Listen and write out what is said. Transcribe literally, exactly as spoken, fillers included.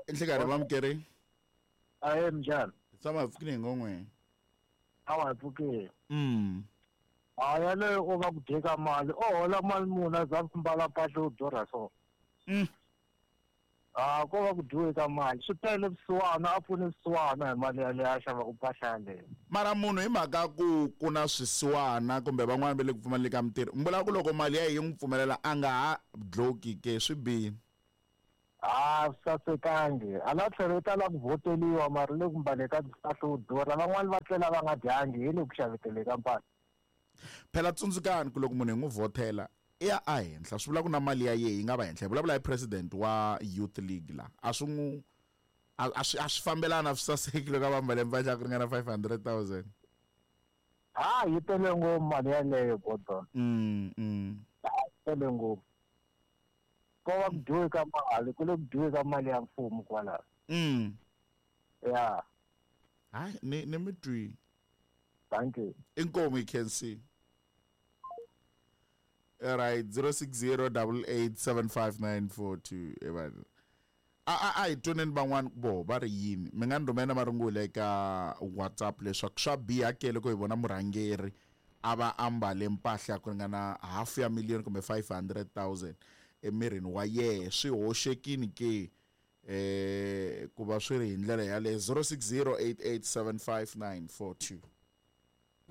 Nhlikani vamukeri. Ahe, minjhani? Hi tshama hi pfukile hi ngo n'we. A wa hi pfukile. Mm. A yaleyo u va ku dyeka mali, o hola mali muni a za ku mbala mpahla yo durha so. Mm. A ko va ku dyiwe ka mali, swi tele vusiwana, a pfune vusiwana hi mali yaleyo a xavaku mpahla yaleyo. Mara munhu hi mhaka ku ku na swisiwana kumbe van'wana va le ku pfumaleni ka mintirho, mi vula ku loko mali ya yi n'wi pfumelela a nga ha dloki ke, swi bihile? A swi sasekangi, hala tlhelo u ta lava ku vhoteliwa mara le ku mbale ka mpahla yo durha, van'wani va tlela va nga dyangi hi le ku xaveteleni ka mpahla. Phela tsundzukani ku loko munhu hi n'wi vhotela i ya a henhla, swi vula ku na mali ya yehe yi nga va henhla. Hi vulavula hi president wa Youth League la, a swi n'wi, a, a swi, a swi fambelani, a swi saseki loko a va mbale mpahla ya ku ringana five hundred thousand. Ha, yi tele ngopfu mali yaleyo, Gordon. Mm, mm. Ha, yi tele ngopfu. Ko va ku dyiwe ka mali, ku le ku dyiwe ka mali ya mfumo kwalaho. Mm. Ya. Hayi, ni, ni mi twi. Thank you. Inkomu, you can see. All right, zero six zero double eight seven five nine four two. Evan. A, a, a hi twaneni van'wana vo va ri yini. Mi nga ni rhumela marungula eka WhatsApp leswaku swa biha ke loko hi vona murhangeri a va ambale mpahla ya ku ringana half ya million kumbe five hundred thousand emirini wa yehe, swi hoxekini ke? Eh, ku va swi ri hi ndlela yaleyo. Zero six zero eight eight seven five nine four two.